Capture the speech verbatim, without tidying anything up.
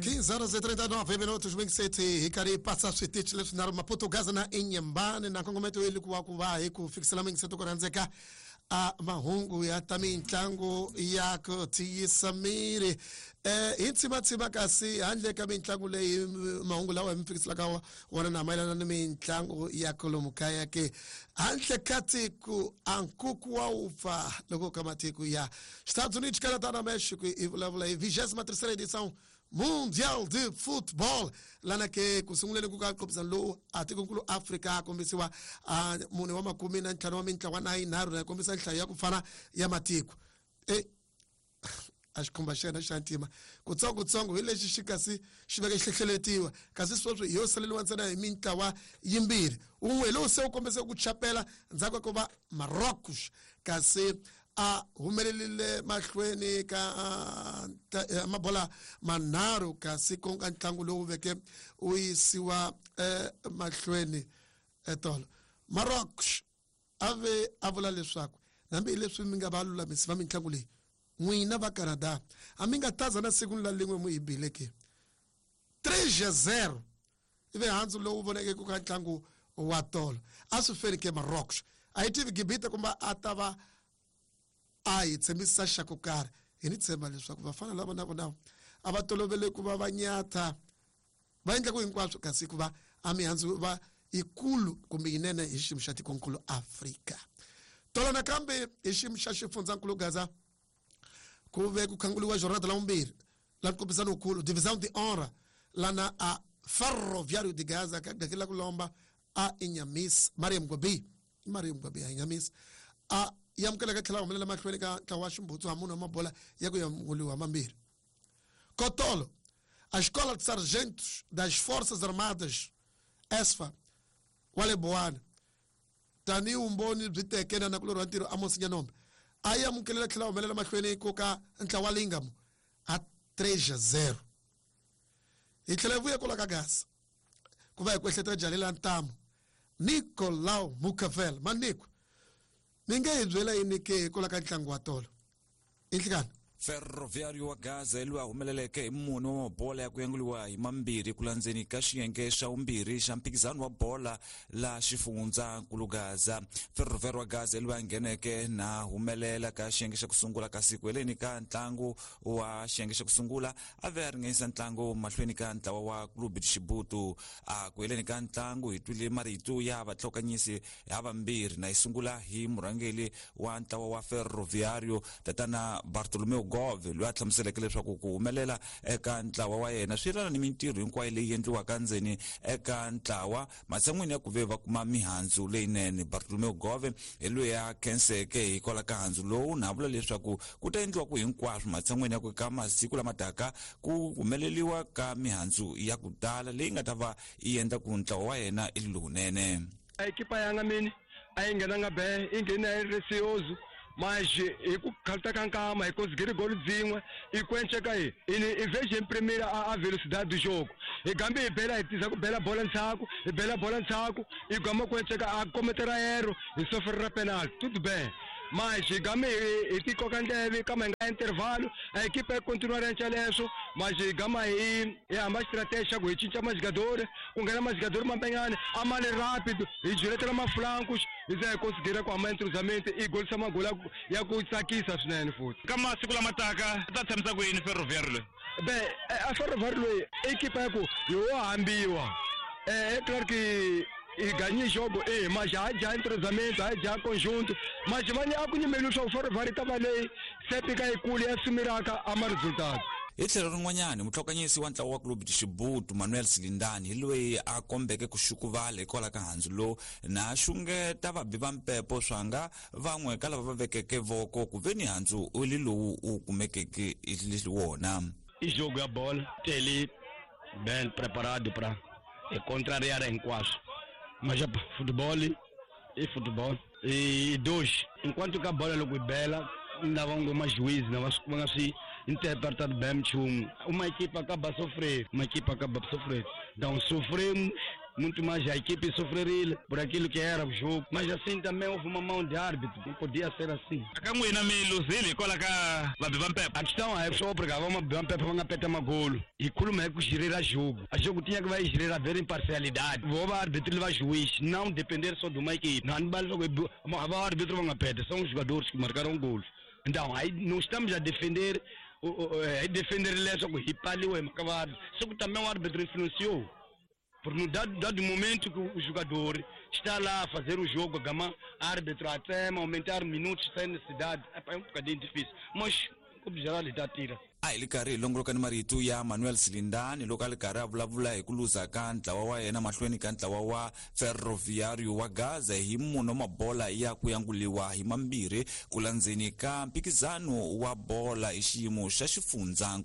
quinze horas e trinta e nove minutos, vinte e sete hi karhi hi pasa switichi leswinharhu, Maputo, Gaza na Inhambane, na nkongometo yi ku wa ku va hi ku fikisela mingiseto ku rhandzeka a mahungu ya ta mitlangu ya ku tiyisa miri eh hi tsimatsima. Kasi handle ka mitlangu leyi, mahungu lawa hi mi fikiselaka wona na mayelana ni mitlangu ya kolomu kaya ke handle ka tiko, a nkuku wa wupfa loko ka matiko ya Estados Unidos, Canadá na México. I vulavula hi vigésima terceira edição Mundial de Futebol, lana ke ku sunguleni ku ka nqophisano lowu a tikonkulu Afrika a kombisiwa a mune wa makume na ntlhanu wa mintlawa na yinharhu, na kombisa nhlayo ya ku fana ya matiko e a xikhumba xa yena xa ntima kutsongotsongo hi lexi xi kasi xi veke xi hlehleletiwa. Kasi sweswi hi yo saleliwa ntsena hi mintlawa yimbirhi, wun'we hi lowu se wu kombise ku chapela ndzhaku ka ku va Marocos kasi a humelerile mahlweni ka mabola manharhu, kasi ku nga ntlangu lowu veke wu yisiwa mahlweni etolo. Marocos a ve a vula leswaku hambi leswi mi nga va lulamisi va mitlangu leyi, n'wina va Canada a mi nga taza na siku la lin'we mu hi bile ke three zero ivi handzu lowu voneke ku ka ntlangu wa tolo a swi feni ke Marocos a yi tivi Gibita kumbe a ta va a hi tshembisa xa ku karhi. Hi ni tshemba leswaku vafana lava na vona a va tolovele ku va va nyatha va endla ku hinkwaswo, kasi ku va a mihandzu va yikulu kumbe yinene hi xiyimo xa tikonkulu Afrika. Tolo nakambe hi xiyimo xa xifundzankulu Gaza ku ve ku khanguliwa jornada la vumbirhi la nkombisano wukulu Divisão de Honra, lana a Ferroviário de Gaza ka gakela ku lomba a Inhaminse Mariam Gobi, Mariam Gobi a Inhaminse a yamukeleka tlhela humelela mahlweni ka ntlawa wa ximbutsu ha munhu wa mabola ya ku yamuliwa mambirhi. Kotolo a Escola de Sargentos das Forças Armadas, ESFA, wa le Boane, tanihi vumbhoni byi teke na nakulorhi wa ntirho Amos Nyanombe a yi amukelela tlhela humelela mahlweni ko ka ntlawa wa Lingamo a three zero. Hi tlhela hi vuya kwala ka Gaza ku va hi ku ehleketa jalela ntamu Nicolau Mucavel Maniko, mi nge hi byela yini ke hikwalaho ka ntlangu wa tolo inhlikani? Ferroviário wa Gaza loyi a humeleleke hi mune wa mabola ya ku yanguliwa hi mambirhi ku landzeni ka xiyenge xa vumbirhi xa mphikizano wa bola la xifundzankulu Gaza. Ferroviário wa Gaza loyi a ngheneke na humelela ka xiyenge xa ku sungula, kasi ku heleni ka ntlangu wa xiyenge xa ku sungula a ve a ringanyisa ntlangu mahlweni ka ntlawa wa Clube de Chibuto. A ku heleni ka ntlangu hi twile marito ya vatlhokanyisi ha vambirhi, na yi sungula hi murhangeli wa ntlawa wa Ferroviário, tatana Bartolomeu Gove, loyi a hlamuseleke leswaku ku humelela eka ntlawa wa yena swi yelana ni mintirho hinkwayo leyi endliwaka ndzeni eka ntlawa matshan'wini ya ku ve va kuma mihandzu leyinene. Bartolomeu Gove hi loyi a khenseke hikwalaho ka handzu lowu, na vula leswaku ku ta endliwa ku hinkwaswo matshan'wini ya ku ka masiku lama taka ku humeleliwa ka mihandzu ya ku tala leyi nga ta va yi endla ku ntlawa wa yena i lowunene. A equipa yanga mini a yi nghenanga be, yi nghene a yi receoso, mas hi ku khalta ka nkama hi conseguir golo dzin'we i kwenceka hi ini i vez de imprimir a, a velocidade do jogo, hi gambe hi bela hi tiza ku bela bola ndzhaku, hi bela bola ndzhaku, hi gama kwenceka a kometera erro, hi sofrera penalty, tudo bem, mas hi game hi hi tikoka ndleve kama hi nga intervalo a equipa yi continuar yenca leswo, mas hi gama hi hi hamba stratégie xa ku hi cinca majogadores, ku nghena majogadores mampenyana a ma le rápido, hi juletela maflancos, hi za hi conseguir ku hamba entrosamento i golisa magoli ya ku- ya ku tsakisa swinene futhi. Ka masiku lama taka ta tshamisa ku yini Ferroviário loyi? Be a Ferroviário loyi equipa ya ku hi wo hambiwa. É claro que hi ganhei jogo e mas já já entrosamento, já já conjunto, mas vanye a ku nyimeli leswaku Ferroviário ta va leyi sempre ka yikulu ya sumiraka a ma resultado. Hi tlhelo rin'wanyani, mutlhokanyisi wa ntlawa wa Clube de Chibuto, Manuel Silindani, hi loyi a kombeke ku xukuvala hikwalaho ka handzu lowu, na xungeta vabi va mpepo swanga van'we ka lava va vekeke voko ku ve ni handzu u li lowu u kumekeke li wona. I jogo ya bola tele bem preparado para contrariar hinkwaswo, mas futebol i futebol e dois enquanto ka bola loko yi bela lava ngo majuiz na va va nga swi interpretado bem nchumu, uma equipa acaba a sofrer, uma equipa acaba a sofrer, então sofremos. Muito mais a equipe sofreria por aquilo que era o jogo. Mas assim também houve uma mão de árbitro, não podia ser assim. Ka n'wina mi luzile hikwalaho ka vabi va mpepe? A questão é só obrigava uma mpepe va nga peta magolo. Hi khuluma hi ku girira jogo. A jogo tinha que vai girar ver imparcialidade. Vou va árbitro va juiz, não depender só de uma equipe. Não vale só o árbitro va nga peta, são os jogadores que marcaram gols. Então, aí não estamos a defender a defender leswaku hi paliwe hi mhaka va só que também o árbitro influenciou. Porque no dado, dado momento que o jogador está lá a fazer o jogo, a gama, árbitro até aumentar minutos sem necessidade, é um bocadinho difícil. Mas o geral está tira. A hi li karhi hi longoloka ni marito ya Manuel Silindani loko a li karhi a vulavula hi ku luza ka ntlawa wa yena mahlweni ka ntlawa wa Ferroviário wa Gaza hi mune wa mabola ya ku yanguliwa hi mambirhi ku landzeni ka mphikizano wa bola hi xiyimo xa xifundzankulu.